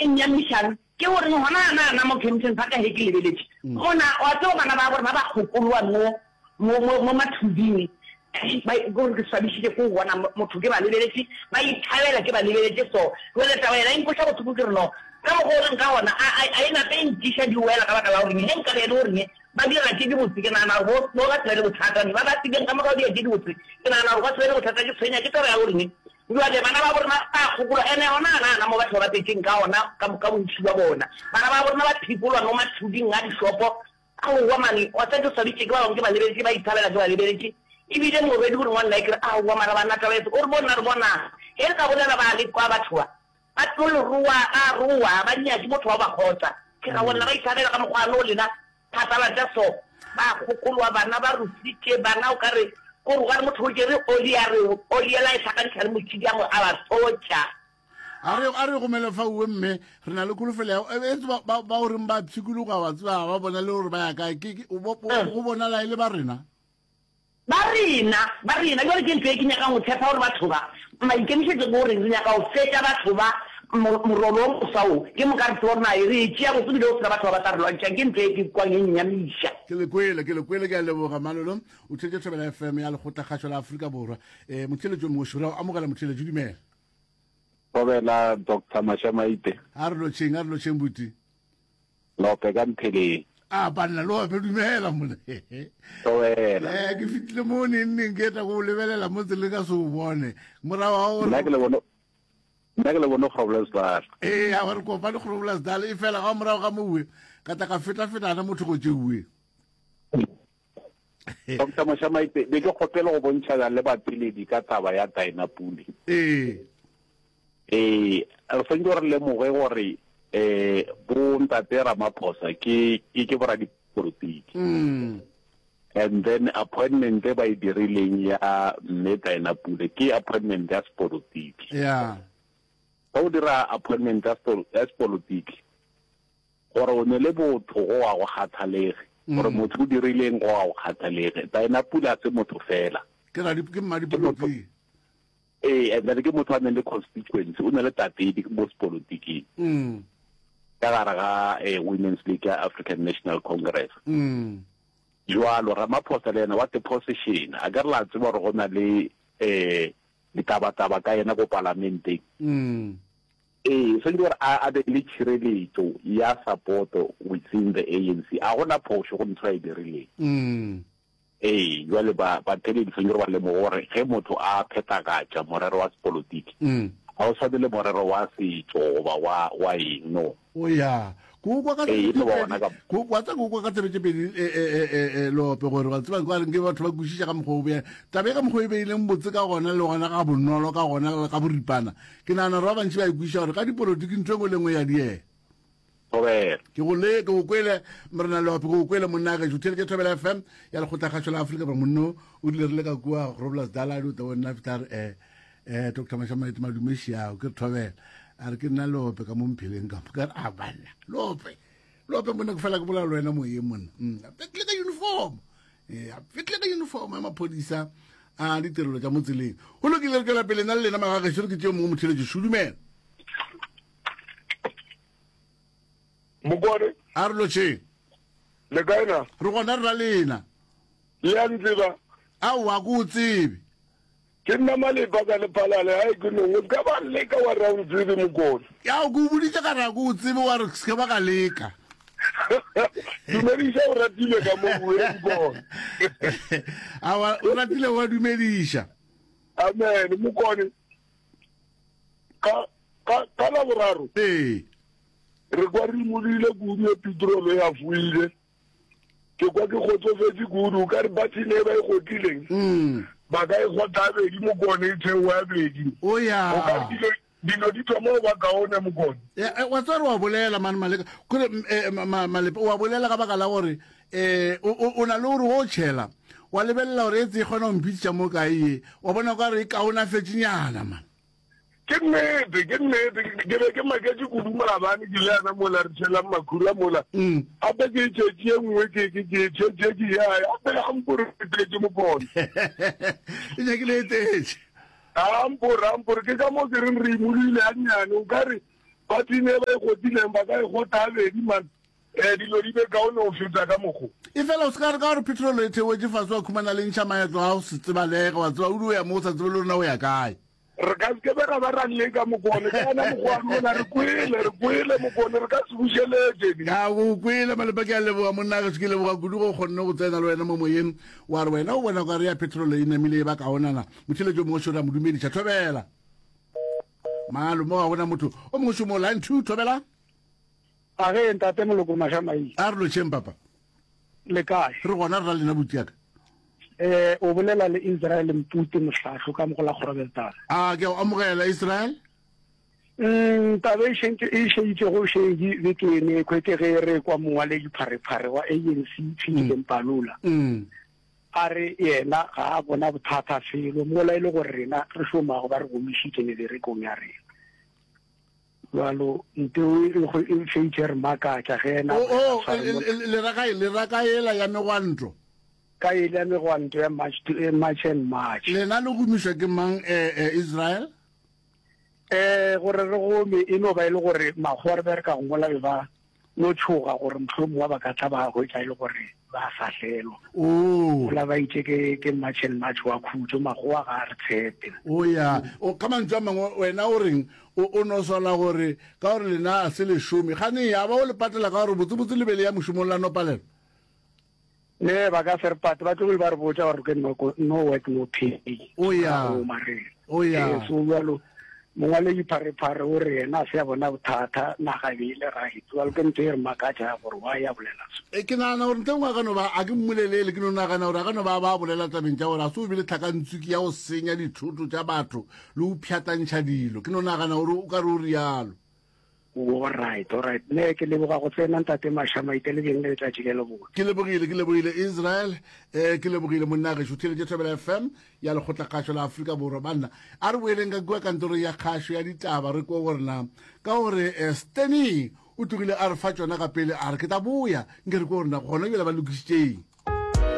e nnyamišang ke gore gona na na mo Kempton Park ge ke lebeletše, gona wa tseba bana ba rena ba kgokoloa mo mo mo mo mathuding, ba ke gore ke swabišitše ke go bona motho ke ba lebeletše ba ithabela ke ba lebeletše so. Jwale taba yena e nkweša bohloko ke re no ka mokgwa o leng ka gona a a a e nape e ntiša di wela ka baka la gore ge nkabe e le gore ba dira tše dibotse ke nagana gore bo bo ka se be le bothata, ba ba fileng ka moka go dira tše dibotse ke nagana gore ba se be le bothata. Ke tshwenya ke taba ya gore Bjale bana babo rena ba a gopola, ene gona na na mo batho ba bapetšeng ka gona ka, ka bontši bja bona. Bana babo rena ba phikolwa mo mathuding a dišopo. Aowa mane, wa tseba ke swabitše ke ba bangwe ke ba lebeletše ba ithabela ke ba lebeletše. Ebile morwedi o re ngwanna ke re, aowa mara banna taba efe? O re bo nna re bonang. Ge re ka bolela ba le kwa batho ba, ba tlo le roa, ba roa, ga ba nyake motho wa go ba kgotsa. Ke ra bona ba ithabela ka mokgwa no lena Phatlalatša so, ba kgokoloa bana ba rusitše bana o ka re kore o ka re motho o tšere oli a re oli yela e hlakantšha le motšhidi a mo a ba tlotša. A re a re gomele fa uwe mme re na le kholofelo ya e ba ba ba o reng ba pshikologa wa tseba ba bona le gore ba ya kae ke go bonala e le ba rena. Ba rena, ba rena. Bjale ke ntho ye ke nyakang go tshepa gore batho ba, maikemišetšo ke gore re nyaka go fetša batho ba morolo wo moswa wo, ke moka re tsebe gore na re e tšea botse ebile go se na batho ba ba tla re lwantšhang. Ke ntho ye ke kwang e nnyamiša. Ke le kwele, ke le kwele, ke a leboga Malolo. O theetše Thobela FM ya Lekgotlakgašo la Afrika Borwa. Eh, motheeletši o mongwe šora o amogela motheeletši, dumela. Thobela Doctor Mashamaite. A re lotšheng, a re lotšheng buti. Lope ka mpheleng. A banna lope dumela mone. Towela. Eh ke fitile mo neng neng ke tla go lebelela mo tseleng ka se o bone. Morago ga gore Nna ke le bone Nna ke le bone Groblersdal. Ee, a re kopane Groblersdal e fela ga morago ga mowe ka tla ka feta feta na motho go tšeue. Doctor Moshamaite, be ke kgopela go bontšhana le bapeledi ka taba ya Dinapule. Ee. Ee, re swanetše gore re lemoge gore eh bo ntate Ramaphosa ke ke ke boradipolotiki. Mm. And then appointment e ba e dirileng ya mme Dinapule ke appointment ya sepolotiki. Yeah. Ge o dira appointment ya sepolotiki Gore o ne le botho go ga go kgathalege. Gore motho o dirileng go ga go kgathalege. Dinah Pule a se motho fela. Ke radi, ke mmadipolotiki. Ee, and then ke motho a neng le constituency, o ne le tatedi mo sepolotiking. Ka gare ga eh, Women's League ya African National Congress. Jwalo Ramaphosa le yena wa deposition, a ke re la tseba gore go na le eh ditabataba ka yena ko palamenteng. Ee, swanetše gore a a be le tšhireletšo ya sapoto within the ANC. A go na phošo go ntho a e dirileng. Ee, jwale ba batheeledi swanetše gore ba lemoge gore ge motho a phethagatša morero wa sepolotiki, ga o swane le morero wa setšo goba wa wa eng, no. O ya. Ke o kwa ka Ee, tsebe e tše no ba pedi. gona ka. Ke o kwa tsa ke o kwa ka tsebe tše pedi e, e, e, e, e, Lope gore wa tseba kwa reng ke batho ba kwešiša ka mokgwa o bea taba e ka mokgwa o e beileng botse ka gona le gona ga bonolo ka gona le ka boripana. Ke nagana gore ba bantši ba e kwešiša gore ka dipolotiki ntho e nngwe le nngwe ya diega. Thobela. Ke go le ke go kwele morena Lope ke go kwele monna gešo theletše Thobela FM ya lekgotlakgašo la Afrika Borwa monno o rile re le ka kua Groblersdal a di o tla bo nna fihla re eh eh Dr Mashamaite madume šiao ke re thobela a re ke nna lope ka mo mpheleng ka ka re a banna lope lope monna ke fela ke bolela le wena moyeng monna mm, a fetlile ka uniform eh, a fetlile ka uniform ya maphodisa a ditirelo tša mo tseleng go lokile re tšwela pele nna le lena magagešo re ke tšeo mongwe motheletši šudumela Mokwane. A re lotšheng. Le kae na? Re gona re ra lena. Le a ntseba? Aowa, ke o tsebe. Ke nna Malepa ka Lephalale, hai ke nong. O se ka ba leka wa re a o ntsebe Mokone. Ao, ke o boditše ka re a ke o tsebe wa re se ke ba ka leka. Dumediša o ratile ka mo bue Mokone. Aowa, o ratile wa dumediša. Amen, Mokone. Ka ka ka Laboraro. Ee. Re kwa re imolile kudu e petrol e hafoile. Ke kwa ke kgotsofetše kudu, o ka re button e ba e kgotlileng, mm. ba ka e kgotla bedi mokone e theoa ya bedi. O ya. O ka re dilo dilo di thoma go ba kaone mokone. Eh, eh, wa tswa re wa bolela mane maleka kore mm, eh, malepe wa bolela ka baka la gore eh o na le gore o tšhela wa lebelela gore e tse e kgona go mphitša mo kae ye wa bona ka re e kaonafetšenyana man Ke nnete, ke nnete. Ke be ke maketše kudu maabane ke le yana mola re tšhelang makhura mola. Mm. Gape ke e tšhetše ye nngwe ke ke ke e tšhetše ke ya gape ga mpore e tletše mokone. E nyakile e tletše. Ga mpore, ga mpore ke ka mo ke reng re imolile gannyane o ka re. Bathini e ba e gotileng ba ka e gota gabedi man. Eh, dilo di be kaone go feta ka mokgo. Efela o se ka re ka gore petrolo e theoetše fase wa khumana le ntšha maeto a go se tsebalege, wa tseba o di o ya mo o sa tsebe le gore na o ya kae. Re ka se ke be ra ba ra leka Mokone, ka yena mokgwa wa rona re kwele, re kwele Mokone, re ka se bušeletše. Ke a go kwele Malepa, ke a leboga monna gešo, ke leboga kudu go kgonne go tsena le wena mo moyeng, wa re wena o bona o ka re ya petrolo e namile e ba kaonana. Motheeletši o mongwe šo re a mo dumediša, thobela. Malo mo ga gona motho o mongwe šo mo line 2, thobela. A ge ntate Moloko Mašamaile. A re lotšheng papa. Le kae? Re gona re ra lena butiaka. Eh o bolela le Israel Mpute Mohlahlo ka mogola Groblersdal. A ke o amogela Israel? Mm taba e šentše e šeditšego šedi beke ene kwe ke ge re kwa mongwaledi pharephare wa ANC Philip Mbalula. Mm. A re yena ga a bona bothata felo mola e le gore rena re šomago ba re gomišitše meberekong ya rena. Bjalo nteo e go e fetše re makatša ge ena O, o, le ra kae, le ra ka yela ya megwanto? Ka yela ya megwanto ya March to, eh, March and March. Lena le gomišwa ke mang, eh, eh, Israel? Eh, gore re gome e no ba e le gore makgowa re bereka go mola be ba no tšhoga gore mohlomongwe ba ka tla ba hwetša e le gore ba fahlelwa. Oh. Mola ba itše ke, ke March and March wa khutšo, makgowa ga a re tshepe. O ya, o, ka mantšu a mangwe wena o reng? O, o no sola gore ka gore lena a se le šome, gane ya ba o le patela ka gore botsebotse le be le ya mošomong la no palelwa? Ne, ba ka se re pate, ba tlogile ba re botša gore ke no, no work no pay. O ya. Goma re. O ya. Eh, so bjalo mongwaledi pharephare o re yena a se a bona bothata, naga e be e le right. Bjalo ke ntho e re makatša gore wa ya bolela so. E, ke nagana gore ntle nngwe a ka no ba, a ke mmolelele, ke no nagana gore a ka no ba ba bolela tabeng tša gore a se o bile tlhakantsuki ya go senya dithoto tša batho le go pšhatlantšha dilo. Ke no nagana gore o ka re o rialo. Alright, alright. Ne ke leboga go tsena ntate Mashamaite le beng le letšatši le lebotse. Ke lebogile, ke lebogile Israel. Eh ke lebogile monna gešo theletše Thobela FM ya lekgotla kgašo la Afrika Borwa. Banna, a re boeleng ka kua kantorong ya kgašo ya ditaba re kwe gore na ka gore eh, Stanley o tlogile a re fa tšona ka pele a re ke tla boya nke re kwe gore na gona bjale ba lokišitšeng.